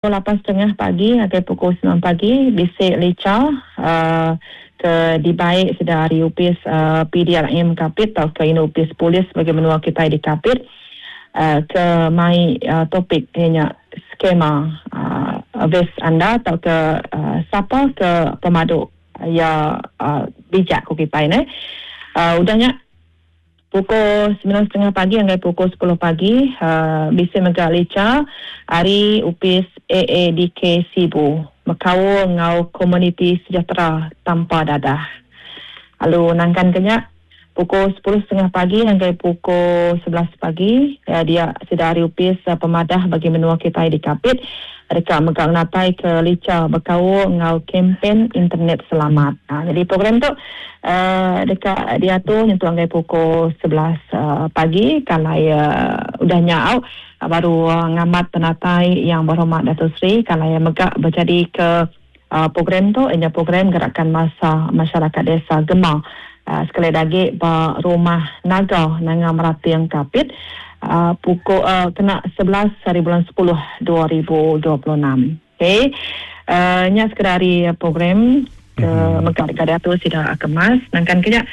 Pukul lapan setengah pagi ngagai pukul semilan pagi bisi licha ke dibai sida ari opis PDRM Kapit tauka indu opis polis bagi menua kitai di Kapit ke mai topik iya nya skema ves anda tauka sapa ke pemadu iya bijak ku kitai neh. Udah nya. Pukul semilan setengah pagi ngagai pukul sepuluh pagi, bisi mega licha ari Opis AADK Sibu bekaul enggau Komuniti Sejahtera Tanpa Dadah. Lalu nangkan ke nya, pukul sepuluh setengah pagi ngagai pukul 11 pagi, dia sida ari Opis Pemadah Bagi Menua kitai di Kapit deka mega ngenataika licha bekaul enggau Kempen Internet Selamat. Nyadi program tu deka diatur nyentuk ngagai pukul 11 pagi kalai udah nya au baru ngamat penatai Yang Berhormat Dato Sri kalai mega bejadika program tu iya nya program Gerakan Massa Masyarakat Desa Gema sekali da agi ba Rumah Naga Nanga Merating Kapit pukul kena 11 hari bulan 10 2026. Okey. Nya sekeda ari program ke mega deka diatur sida kemas. Nangkan ke nya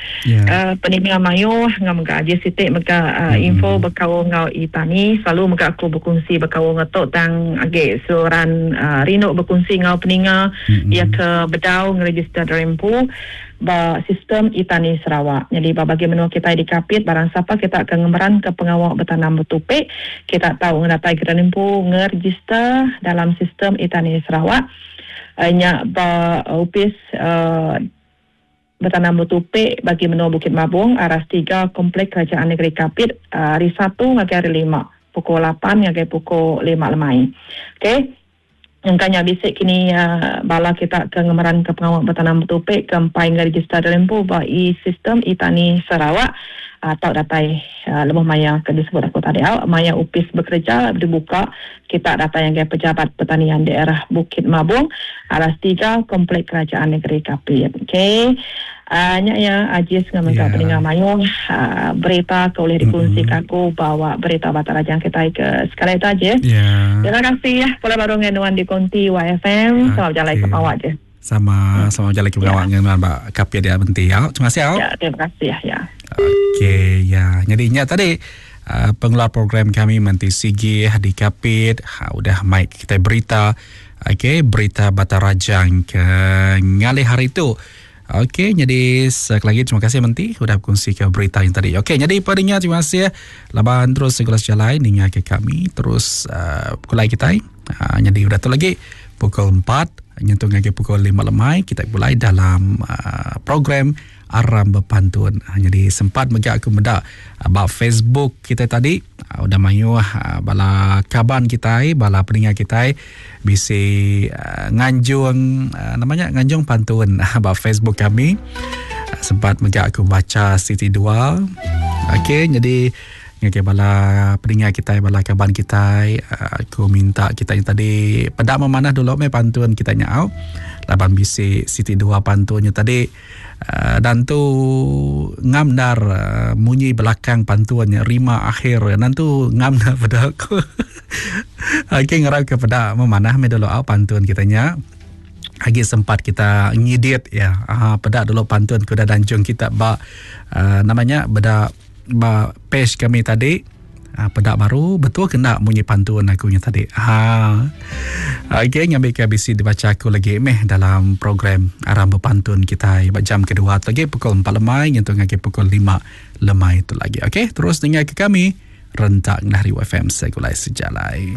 peninga mayuh enggau mega aji siti mega info bekaul enggau e-tani. Selalu mega aku bekunsi bekaul enggau tu tang agi seruran rindu bekunsi enggau peninga iya ke bedau ngeregister diri empu ba sistem e-tani Sarawak. Nyadi ba bagi menua kitai di Kapit barang sapa kita ke ngemeranka pengawa betanam betupi, kita tau ngedatai ke empu ngeregister dalam sistem e-tani Sarawak nya ba opis betanam betupi bagi menua Bukit Mabong aras tiga Komplek Kerajaan Negeri Kapit hari Satu ngagai hari Lima pukul lapan ngagai pukul lima lemai. Okey. Engka nya bisi kini bala kita ke ngemeranka pengawa betanam betupi ke empai ngerejista diri empu ba e-sistem e-tani Sarawak tau datai lebuh maya ke disebut aku tadi au maya opis bekereja dibuka kita datai ngagai Pejabat Pertanian Daerah Bukit Mabong Aras tiga Komplek Kerajaan Negeri Kapit. Okey. Nya iya Ajis enggau mega peninga mayuh berita ke ulih dikunsika aku ba berita Batak Rajang kitai ke sekali tu Ajis. Terima kasih pulai baru ngagai nuan di konti YFM. Selamat bejalai ke pengawa Ajis. Sama selamat bejalai ke pengawa ngagai nuan ba Kapit dia Menti. Au, terima kasih au. Ya, terima kasih ya. Okey, ya. Jadi nya tadi uh, pengeluar program kami Menti Sigi di Kapit ha, udah mic kita berita okey berita Batak Rajang ke ngalih hari tu. Okey, nyadi sekali lagi terima kasih Menti udah berkongsi ke berita yang tadi. Okey, nyadi pendengar terima kasih laban terus segala sejalai ninga ke kami terus uh, kulai kita. Uh, nyadi udah tu lagi pukul 4 nyentuh ngagai pukul 5 lemai kita mulai dalam uh, program Aram Bepantun. Uh, jadi sempat mega aku meda uh, ba Facebook kita tadi uh, udah mayuh uh, bala kaban kita, bala pendengar kita Bisi nganjung nama nya nganjung pantun ba Facebook kami. Sempat mega aku baca siti dua. Okey jadi ngagai bala peninga kitai bala kaban kitai aku minta kita nya tadi peda memanah dulu meh pantun kita nya au. Laban bisi siti dua pantun nya tadi. Dan tu ngam endar munyi belakang pantun nya rima akhir nan tu ngam endar peda aku. Okey ngarap ke peda memanah meh dulu au pantun kita nya. Agi sempat kita ngidit ya. Ha peda dulu pantun ke udah danjung kita ba uh, nama nya beda Ba page kami tadi ha, peda baru betul ke enda munyi pantun aku nya tadi. Ha. Okey ngambika bisi dibacha aku lagi meh dalam program Aram Bepantun kitai ba jam kedua tu lagi pukul 4 lemai nyentuk ngagai pukul 5 lemai tu lagi. Okey terus ninga ke kami rentak ngelari FM Segulai Sejalai.